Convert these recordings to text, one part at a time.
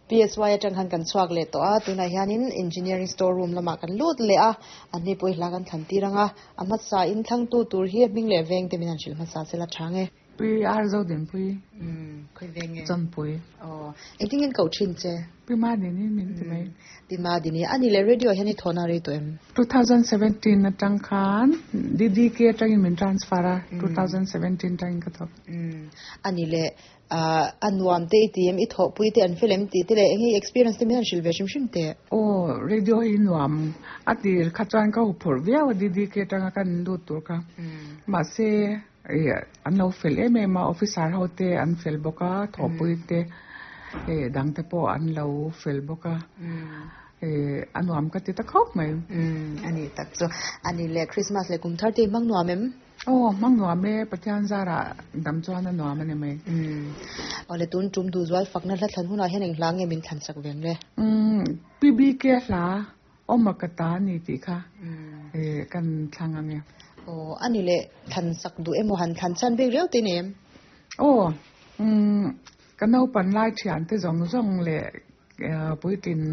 PSY atang khan kan chhuak leh tawh a, tunah hianin Engineering Store Room lamah kan lut leh a, a hnipui hla kan thlan tir ang a, a hmasa in thlangtu tur hi a hming leh veng te min han hrilh hmasa sela tha nge. Pi R Zodinpui. Umm, khawi veng nge? Chawnpui. Aw, engtin nge koh thin che? Pi Madini min ti mai. Pi Madini, a ni leh radio hian i thawhna rei tawh em? 2017 atang khan DDK atangin min transfer a, 2017 atangin ka thawk. Umm, a ni leh a nuam te i ti em, i thawhpui te an fel em tih te leh eng nge i experience te min han hrilh ve hrim hrim teh? Aw, radio hi nuam a tir kha chuan ka huphurh viau a DDK atanga kan lut tur kha. Mahse, an lo fel em em a, officer ho te an fel bawk a, thawhpui te dang te pawh an lo fel bawk a, a nuam ka ti ta khawp mai. A ni tak chu. A ni leh Christmas leh kum thar te i hmang nuam em? Aw, hmang nuam e, Pathian zarah dam chuan a nuam a ni mai. Umm. Awle tun tum duhzual fakna hla thlan hunah hian eng hla nge min thlan sak ve ang le? Umm, PBK hla awma ka ta a ni tih kha kan thlang ang e. Aw, a ni le, thlan sak duh emaw han thlan chhan bik riau te nem? Aw, umm, ka naupan lai thian te zawng zawng leh puitlin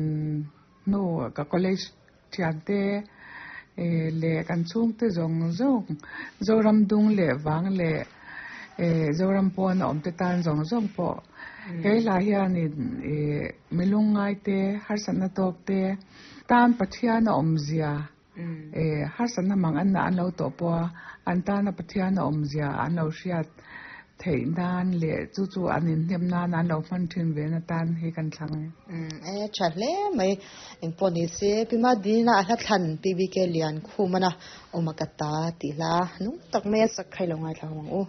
hnu ka college Thiante leh kan chhungte zawng zawng, Zoram dung leh vang leh Zoram pawn a awmte tan zawng zawng pawh he hla hianin mi lungngaite, harsatna tawkte tan Pathian a awmzia, harsatna mang an an lo tawh pawh a, an tana Pathian a awmzia an lo hriat theih nan leh chu chu an inhnem nan an lo hman thin ve na tan hi kan thlang e. Umm e tha hle mai. Engpawh ni se Pi Madina a hla thlan PBK Lian Khumana awm a ka ta tih hla nung tak mai a sak kha i lo ngaithla ho ang u.